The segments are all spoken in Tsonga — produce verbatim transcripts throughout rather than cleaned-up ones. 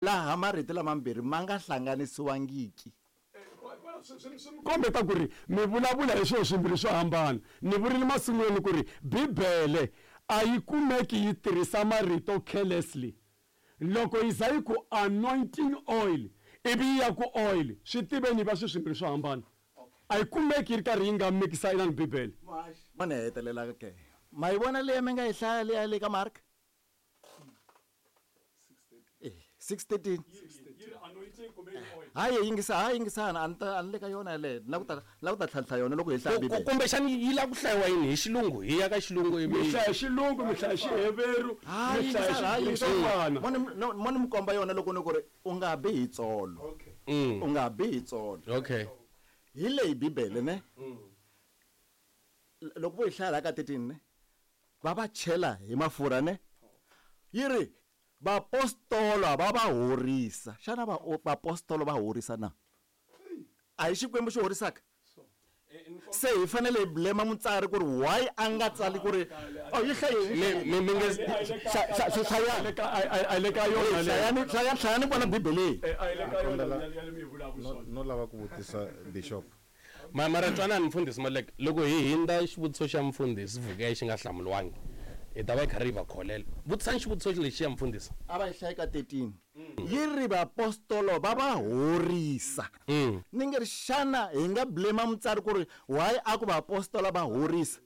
Laha marito lamambirhi ma nga hlanganisiwangiki. Kombeta ku ri mi vulavula hi swilo swimbirhi swo hambana. Ni vurile masungulweni ku ri Bibele a yi kumeki yi tirhisa marito carelessly. Loko yi za yi ku anointing oil ivi yi ya ku oil, swi tiveni va swilo swimbirhi swo hambana. A yi kumeki yi ri karhi yi nga mikisa inani Bibele. Mo ni hetelela ke. Ma yi vona leyi mi nga yi hlaya leya le ka Mark? Eh, six thirteen. Hayi yingisa, hayi yingisana, a ni ta a ni le ka yona yaleyo. Ni la ku ta la ku ta tlhantlha yona loko hi hlaya Ku- ku- Bibele. Kumbexani yi lava ku hlayiwa yini hi xilungu? Hi ya ka xilungu Mi ivi hlaya xilungu, mi hlaya Xiheveru, Hayi mi hlaya yingisana, hayi Xigriki, swo yingisana. fana. Mo ni no, mo ni mi komba yona loko ni ku ri u nga bi hi tsolo. Mm. U nga bi hi tsolo. Okay. Hi leyi Bibele ne? Loko vo yi hlaya la ka thirteen ne? Va va chela hi mafurha ne? Yi ri vapostola va va horisa. Xana va vapostola va horisa na? A hi Xikwembu xi horisaka? Se hi fanele hi blame mutsari ku ri why a nga tsali ku ri oh yi hlaye Mi mi mi nge hlayani A le ka yona leyo. hlayani hlayani hlayani kwala Bibeleni. Eh, a yi le ka yona leyo mi yi vulaka no, swona. no lava ku vutisa bishop. Ma mara twanani mfundhisi Malek, loko hi hindza xivutiso xa mfundhisi Vukeya xi nga hlamuriwangi, hi ta va hi karhi hi va kholela. Vutisani xivutiso lexi ya mfundhisi. A va yi hlayi ka thirteen. Yi ri vaapostolo va va horisa. Mm. Ni nge ri xana hi nga blame mutsari ku ri why a ku vaapostola va horisa?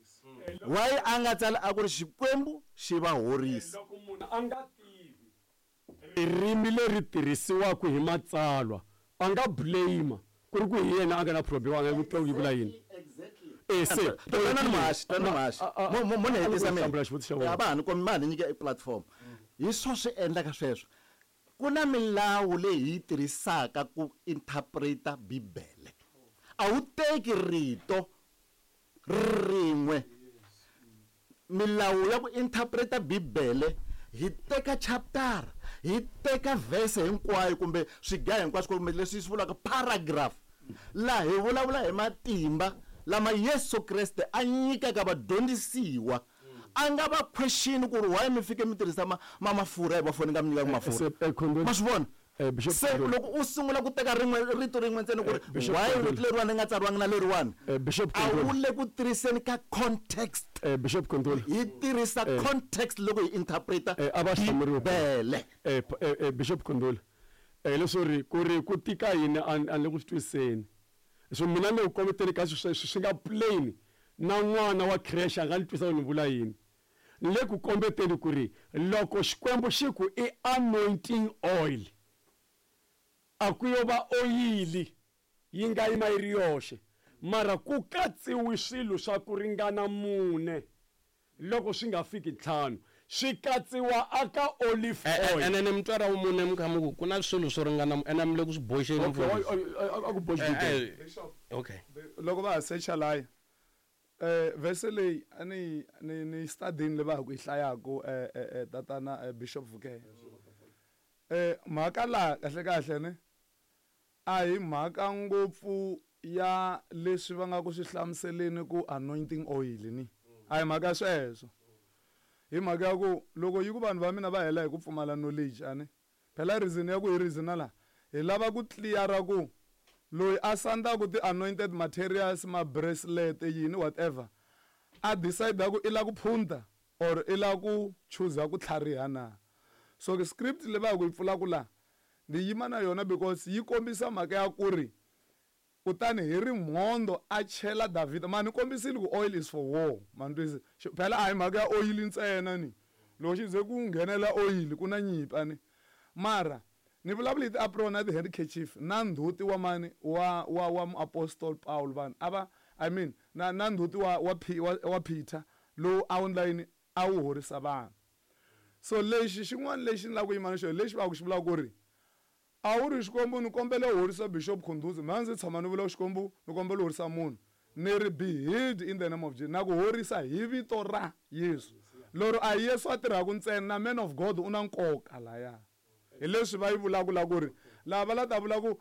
Why a nga tsali a ku ri Xikwembu xi va horisa? Loko munhu a nga tivi ririmi leri tirhisiwaka hi matsalwa, a nga blame ku ri ku hi yena a nga na problem, a nga ku twa ku yi vula yini. Eh, se Twanani muhaxi, twanani muhaxi. Mo mo mo ni hetisa mina. Hlamula xivutiso xa wena. A va ha ni kombi, ma ha ni nyike e platform. Hi swo swi endlaka sweswo. Ku na milawu leyi hi yi tirhisaka ku interpreta Bibele. A wu teki rito rin'we. Milawu ya ku interpreta Bibele hi teka chapter, hi teka verse hinkwayo kumbe swiga hinkwaswo kumbe leswi swi vulaka paragraph. Laha hi vulavula hi matimba lama Yesu Kreste a nyikaka vadyondzisiwa. A nga va question ku ri why mi fike mi tirhisa ma, ma mafurha hi va foni nga mi nyikaka mafurha. Se, eh, Khondoni. Ma swi vona? Eh, Bishop Se Khondoni. loko u sungula ku teka rin'we rito rin'we ntsena ku ri Eh, Bishop why Khondoni. rito leriwani ri nga tsariwangi na leriwani? Eh, Bishop A wu Khondoni. le ku tirhiseni ka context. Eh, Bishop Khondoni. Hi tirhisa Eh. context loko hi interpreta Eh, a va hlamuriwe. Bibele. Eh, p-, eh, eh, Bishop Khondoni. Eh, leswo ri ku ri ku tika yini a ni, a ni le ku swi twisiseni. So mina ni le ku kombeteni ka swilo swi, swi nga plain na n'wana wa creche a nga ni twisa ku ni vula yini. Ni le ku kombeteni ku ri loko Xikwembu xi ku i anointing oil, a ku yo va oyili yi nga yima yi ri yoxe, mara ku katsiwi swilo swa ku ringana mune loko swi nga fiki ntlhanu, swi katsiwa aka olive Eh, eh, oil. ene ni mutswari wa mune mi kha mi ku ku na swilo swo ringana, ene mi le ku swi boxeni Okay, mfundhisi. o-, o-, o-, a ku boxi Eh, Bibele. eh, okay. Loko va ha secha laya, eh, verse leyi a ni, ni, ni studying leyi va ha ku yi hlayaku, eh, eh, eh, tatana, eh, Bishop Vukeya. Eh, mhaka laha kahle kahle ne a hi mhaka ngopfu ya leswi va nga ku swi hlamuseleni ku anointing oil ni. A hi mhaka sweswo. Hi mhaka ya ku loko yi ku vanhu va mina va hela hi ku pfumala knowledge a ni. Phela reason ya ku hi reason la hi lava ku clear-a ku loyi a sandaka ti-anointed materials, ma bracelet yini whatever, a decide ku i la ku phunta or i la ku choose ku tlhariha na. So the script leyi va ku yi pfulaka la ni yima na yona because yi kombisa mhaka ya ku ri kutani hi rimhondzo a chela Davhida. Ma ni kombisile ku oil is for war. Ma ni twisisa? Xi-, phela a hi mhaka ya oil ntsena ni. Loko xi ze ku nghenela oil ku na nyimpi a ni. Mara ni vulavula hi ti-apron na ti-handkerchief na ndzhuti wa mani wa, wa, wa muapostol Paul vanhu a va, I mean, na, na ndzhuti wa, wa P-, wa, wa Peter lowu a wu endla yini, a wu horisa vanhu. So lexi xin'wana lexi ni lava ku yima na xona lexi va ku xi vulaka ku ri a wu ri Xikwembu ni kombela u horisa Bishop Khundhuzi, mina ndzi tshama ni vula Xikwembu ni kombela u horisa munhu, ni ri be healed in the name of Jesus, na ku horisa hi vito ra Yesu. Lero a hi Yesu a tirhaka ntsena, na man of God u na nkoka laya. Hi leswi va yi vulaka la ku ri lava va la ta vula ku